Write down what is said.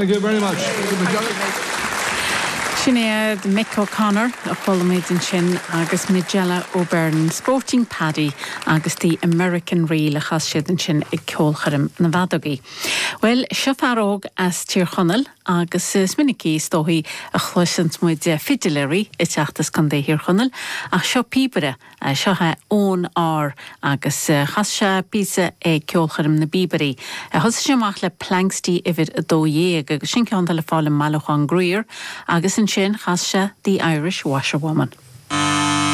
Thank you very much. Thank you, Majella. Sin iad Mick O'Connor a chuala muid ansin agus Majella O'Byrne, Sporting Paddy agus The American Reel a chas siad ansin ag ceolchoirm na bhfeadógaí. Bhuel, seo fear óg as Tír Chonaill agus is minicí is dóichí a chloiseanns muid fidiléirí ag teacht as Contae Thír Chonaill ach seo píobaire Seo é Eoin R agus chas sé píosa ag Ceolchoirm na bPíobairí. Thosaigh sé amach le Planxty uimhir 12 agus sin ceann atá le fáil i mBailiúchán Grier agus ansin chas sé The Irish Washerwoman.